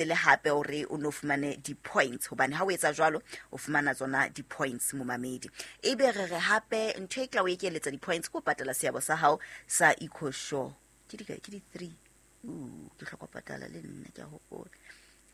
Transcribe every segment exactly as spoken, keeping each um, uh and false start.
Le hape hore o no fumane di-points, hobane ha o etsa jwalo o fumana tsona di-points, momamedi. Ebe re re hape ntho e tla o ekeletsa di-points ke ho patala seabo sa hao sa Ecosure. Ke di ke di-three. Uh, ke hloka ho patala le nna, ke a hopola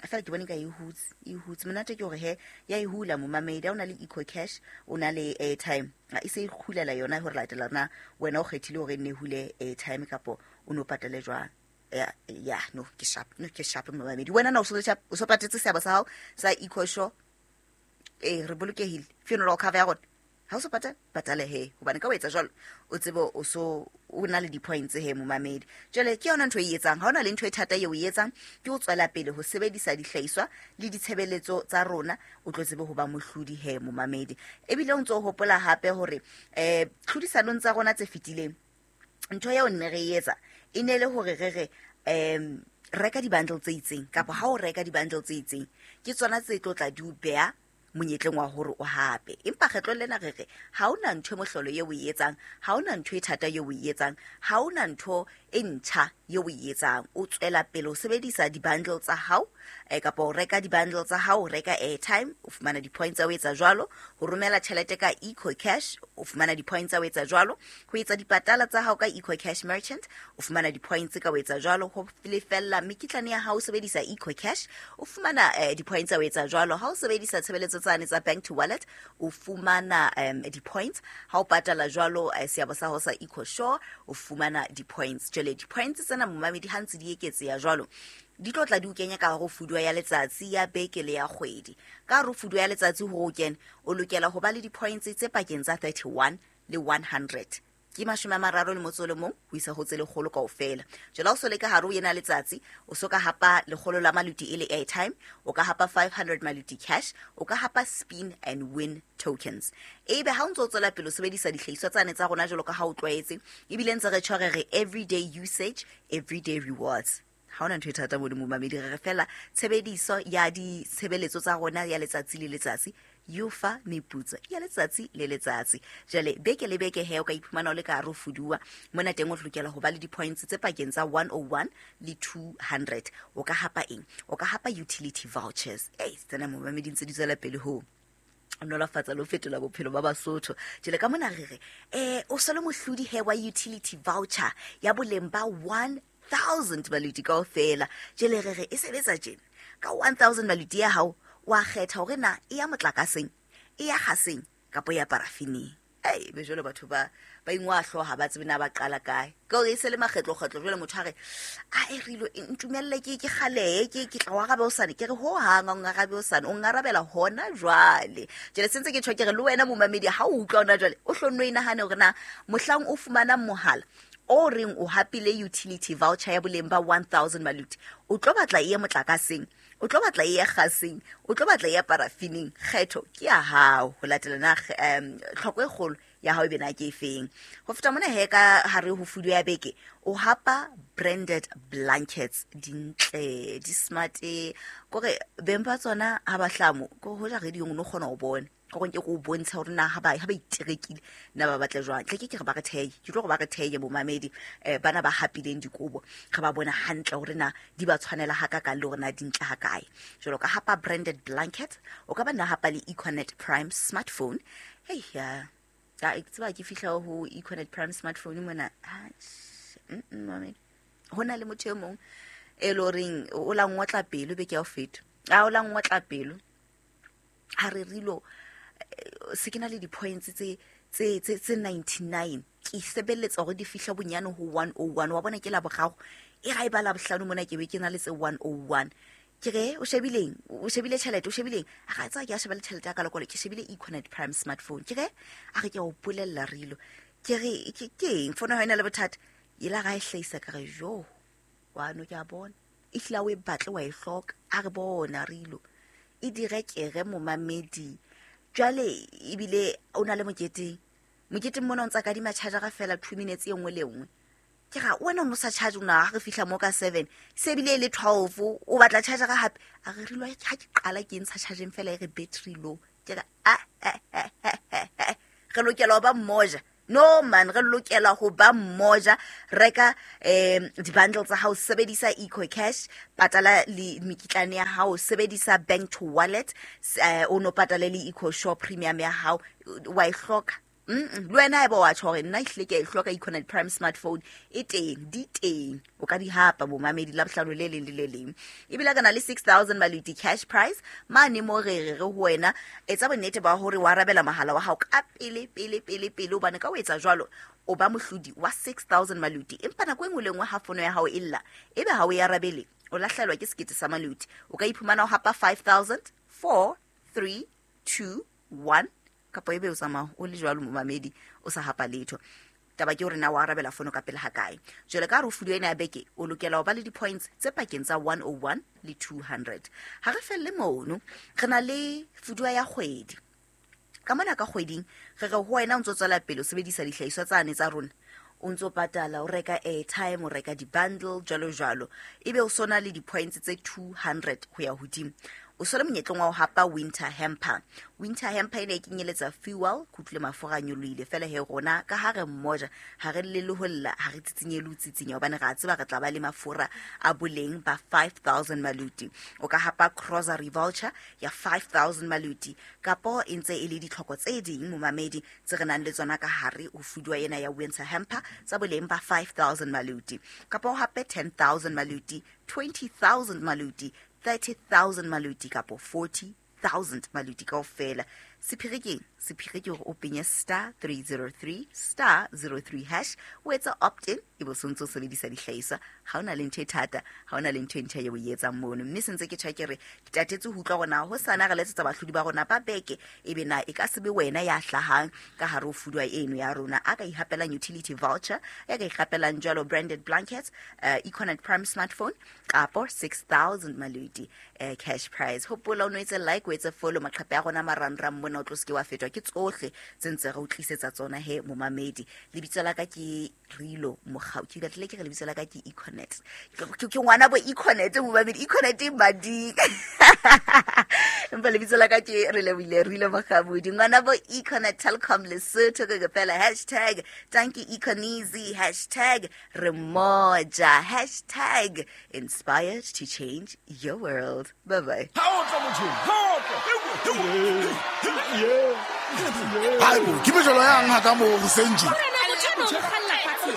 fela ke bone ka e hutse, e hutse monate. Ke hore he ya e hula, momamedi. Ha o na le Eco Cash, o na le airtime, e se e hulela yona hore latela na wena o kgethile hore e nne hule airtime kapo o no patale jwang. Ya, ya, no, ke sharp, no, ke sharp, momamedi. Wena na o so sharp? O so patetse seabo sa hao sa Ecosure? Ee, re bolokehile. Funeral cover ya rona, ha o so patale, patale he, hobane ka o etsa jwalo o tsebe o so o na le di-points he, momamedi. Jwale ke yona ntho e etsang. Ha o na le ntho e thata eo o e etsang, ke o tswela pele ho sebedisa dihlahiswa le ditshebeletso tsa rona, o tlo tsebe ho ba mohlodi he, momamedi. Ebile o ntso o hopola hape hore um tlhodisanong tsa rona tse fetileng, ntho eo nne re e etsa e ne le hore re re um reka di-bundle tse itseng, kapa ha o reka di-bundle tse itseng, ke tsona tse tlo tla di o beha monyetleng wa hore o hape. Empa kgetlong lena re re ha ona ntho e mohlolo eo o e etsang, ha ona ntho e thata eo o e etsang, ha ona ntho e ntjha eo o e etsang. O tswela pele ho sebedisa di-bundle tsa hao, eh, kapa o reka di-bundle tsa hao, o reka airtime, o fumana di-points tsa ho etsa jwalo. Ho romela tjhelete ka Eco Cash, o fumana di-points tsa ho etsa jwalo. Ho etsa dipatala tsa hao ka Eco Cash merchant, o fumana di-points ka ho etsa jwalo. Ho lefella mekitlane ya hao o sebedisa Eco Cash, o fumana eh, di-points tsa ho etsa jwalo. Ha o sebedisa tshebeletso tsane tsa bank to wallet, o fumana um, di-points. Ha o patala jwalo eh, seabo sa hao sa Ecosure, o fumana di-points. Jwale di-points tsena, momamedi, ha ntse di eketseha jwalo, di tlo tla di o kenya ka hare ho fuduwa ya letsatsi, ya beke le ya kgwedi. Ka hare ho fuduwa ya letsatsi, hore o kene, o lokela ho ba le di-points tse pakeng tsa thirty-one le one hundred, ke mashome a mararo le motso o le mong ho isa ho tse lekgolo kaofela. Jwale ha o so le ka hare ho ena letsatsi, o so ka hapa lekgolo la maluti e le airtime, o ka hapa five hundred maluti cash, o ka hapa spin and win tokens. Ebe ha o ntso o tswela pele o sebedisa dihlahiswa tsane tsa rona jwalo ka ha o tlwaetse, ebile ntse re tshware re everyday usage, everyday rewards, ha hona ntho e thata modimo, momamedi. Re re fela tshebediso ya ditshebeletso tsa rona ya letsatsi le letsatsi yo fa meputso ya letsatsi le letsatsi. Jwale beke le beke he, o ka iphumana o le ka hare ho fuduwa mona teng, o lokela ho ba le di-points tse pakeng tsa one oh one le two hundred. O ka hapa eng? O ka hapa utility vouchers. Ei, tsena, momamedi, ntse di tswela pele ho nolofatsa le ho fetola bophelo ba Basotho. Jwale ka mona re re um o so le mohlodi he wa utility voucher ya boleng ba one thousand maluti kaofela. Jwale re re e sebetsa tjena: ka one thousand maluti ya hao, wa kgetha hore na e ya motlakaseng, e ya gaseng kapa e ya parafineng. Ei, be jwale batho ba ba ingwa hlooho, ha ba tsebe na ba qala kae, ke hore e se le makgetlo-kgetlo. Jwale motho a re a e rilo ntumelle ke ke kgalehe, ke ke tla o arabe hosane. Ke re ho hang ha o ngarabe hosane, o ngarabela hona jwale. Jwale sentse ke tjho, ke re le wena, momamedi, ha o utlwa hona jwale, o hlonno e nahane hore na mohlang o fumanang mohala o reng o hapile utility voucher ya boleng ba one thousand maluti, o tlo batla e ye motlakaseng, o tlo batla e ye gaseng, o tlo batla e ye parafineng. Kgetho ke ya hao, ho latela na um tlhoko e kgolo ya hao e bena ke efeng. Ho feta mona he, ka hare ho fudu ya beke, o hapa branded blankets, dintle, di smart, kore beng ba tsona ha ba hlamo ko hoja radio, o no kgona ho bona ka gore ke go bontsha hore na ha ba ha ba iterekile na ba batla jwang. Tle ke ke re ba re theye, ke tlo gore ba re theye, bomamedi. um bana ba hapileng dikobo, re ba bona hantle hore na di ba tshwanela ha kakang le hore na di ntle ha kae. Jwalo ka hapa branded blanket, o ka ba nna hapa le Econet Prime smartphone. Hei ya ya, ke tseba ke fihla ho Econet Prime smartphone mona. Ah, mm, mm, mamedi, ho na le motho e mong e le horeng o la ngotla pelo beke ya ho feta, a o la ngotla pelo ha re rilo eh, se ke na le di-points tse tse tse tse ninety-nine, ke sebeletsa hore di fihla bonyane ho one oh one. Wa bona, ke la boraro e ga e ba la bohlano mona, ke be ke na le tse one oh one. Ke re o shebileng, o shebile tjhelete, o shebileng? A ga tsaya ke a sheba le tjhelete ya ka lekolo, ke shebile Econet Prime smartphone. Ke re a re ke a o bolella rilo, ke re ke ke eng fono ha ena le bothata e la ga e hlahisa. Ka re jo wa no, ke a bona e hlile o e batle, wa e hloka. A re bona rilo e direkere, momamedi. Jwale ebile o na le moketeng, moketeng mona o ntsa kadima chargera fela two minutes e nngwe le nngwe. Ke ga wena o no sa charge na? Ha re fihla mo ka seven, se ebile e le twelve, o batla chargera hape. A re rilo ha ke qala ke ntsha chargeng fela, e re battery low. Ke re a re lokela ho ba mmoja. No man, re lokela ho ba mmoja. Reka um di-bundle tsa hao, sebedisa EcoCash, patala le mekitlane ya hao, sebedisa bank to wallet, uh, o no patale le EcoSure premium ya hao, wa e hloka. Mm, le wena haeba wa tjho hore nna ehlile ke a e hloka Econet Prime smartphone, e teng, di teng, o ka di hapa bomamedi la bohlano le leng le le leng. Ebile ka na le six thousand maluti cash prize mane mo re re re ho wena, etsa bonnete ba hore wa arabela mohala wa hao ka pele pele pele pele, hobane ka o etsa jwalo o ba mohlodi wa six thousand maluti. Empa nako e nngwe le nngwe ha fono ya hao e lla, ebe ha o e arabele, o lahlehelwa ke sekete sa maluti. O ka iphumana o hapa five thousand, four, three, two, one, kapa ebe o tsamaya o le jwalo momamedi o sa hapa letho. Taba ke hore na wa arabela fono ka pele ha kae. Jwale ka hare ho fuduwa ena ya beke, o lokela ho ba le di-points tse pakeng tsa one oh one le two hundred. Ha re felle mono, re na le fuduwa ya kgwedi. Ka mona ka kgweding, re re ho wena o ntso tswela pele o sebedisa dihlahiswa tsane tsa rona, o ntso patala, o reka airtime, o reka di-bundle, jwalo jwalo, ebe o sona le di-points tse two hundred ho ya hodimo. O sole monyetleng wa ho hapa winter hamper. Winter hamper ena e kenyeletsa fuel, ke utlwile mafura a nyolohile fela he rona ka ha re mmoja, ha re llele ho lla, ha re tsitsinye le ho tsitsinya, hobane re a tseba re tla ba le mafura a boleng ba five thousand maluti. O ka hapa grocery voucher ya five thousand maluti, kapo e ntse e le ditlhoko tse ding momamedi tse re nang le tsona ka hare ho fuduwa ena ya winter hamper tsa boleng ba five thousand maluti, kapo hape ten thousand maluti, twenty thousand maluti, thirty thousand maluti kapo forty thousand maluti kaofela. Sephiri keng? Sephiri ke hore o penye star three zero three star zero three hash, o etsa opt-in, ebe o sontso o sebedisa dihlahiswa. Ha ona le ntho e thata, ha ona le ntho e ntjha eo o e etsang mono. Mme se ntse ke tjha ke re, ke tatetse ho utlwa hore na hosane re letsetsa bahlodi ba rona ba beke, ebe na e ka se be wena ya hlahang ka hare ho fuduwa eno ya rona, a ka ihapelang utility voucher, ya ka ihapelang jwalo branded blankets, uh, Econet Prime smartphone, kapo six thousand maluti, uh, cash prize. Hopola o no etse like, o etse follow maqhephe a rona marangrang mona, o tlo se ke wa fetwa ke tsohle tse ntse re o tlisetsa tsona he momamedi. Lebitso la ka ke Rilo Mogau, ke batlile ke re lebitso la ka ke Econet. Ke ke ngwana bo Econet momamedi, Econet e mading. Empa lebitso la ka ke re lebile Rilo Mogabudi, ngwana bo Econet Telkom Lesotho, ke fela hashtag tanki Econeasy, hashtag re moja, hashtag inspired to change your world. Bye bye. Hayi bo, ke mejolo yang ha ka mo ho senji.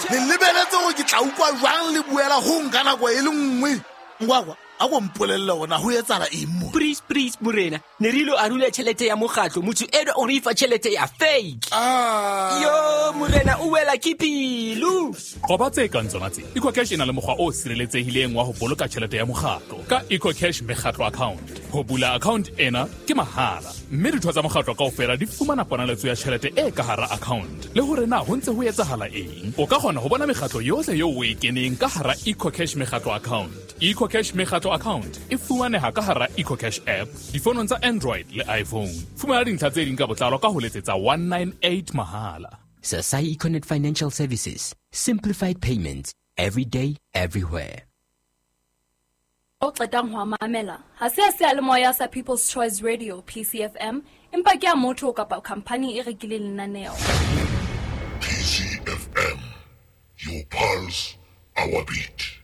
Le lebeletse hore ke tla utlwa jwang le buela ho nka nako e le nngwe. Ngwakwa, a go mpolelle hore na ho etsahala eng mo. Please, please, morena. Ne re ilo arula tjhelete ya mokgatlo, motho eno o re fa tjhelete ya fake. Ah. Yo, morena, o wela ke pelo. Qoba tse kang tsona tse. EcoCash e na le mokgwa o sireletsehileng wa ho boloka tjhelete ya mokgatlo ka EcoCash mekgatlo account. Ho bula account ena ke mahala, mme ditho tsa mokgatlo kaofela di fumana ponaletso ya tjhelete e ka hara account. Le hore na ho ntse ho etsahala eng, o ka kgona ho bona mekgatlo yohle eo o e keneng ka hara EcoCash mekgatlo account. EcoCash mekgatlo account e fumaneha ka hara EcoCash app difonong tsa Android le iPhone. Fumana dintlha tse ding ka botlalo ka ho letsetsa one nine eight mahala. Sasai Econet Financial Services. Simplified payments every day, everywhere. O qetang ho mamela ha se a seyalemoya sa People's Choice Radio P C F M, empa ke a motho kapa company e rekileng lenaneo. P C F M, your pulse, our beat.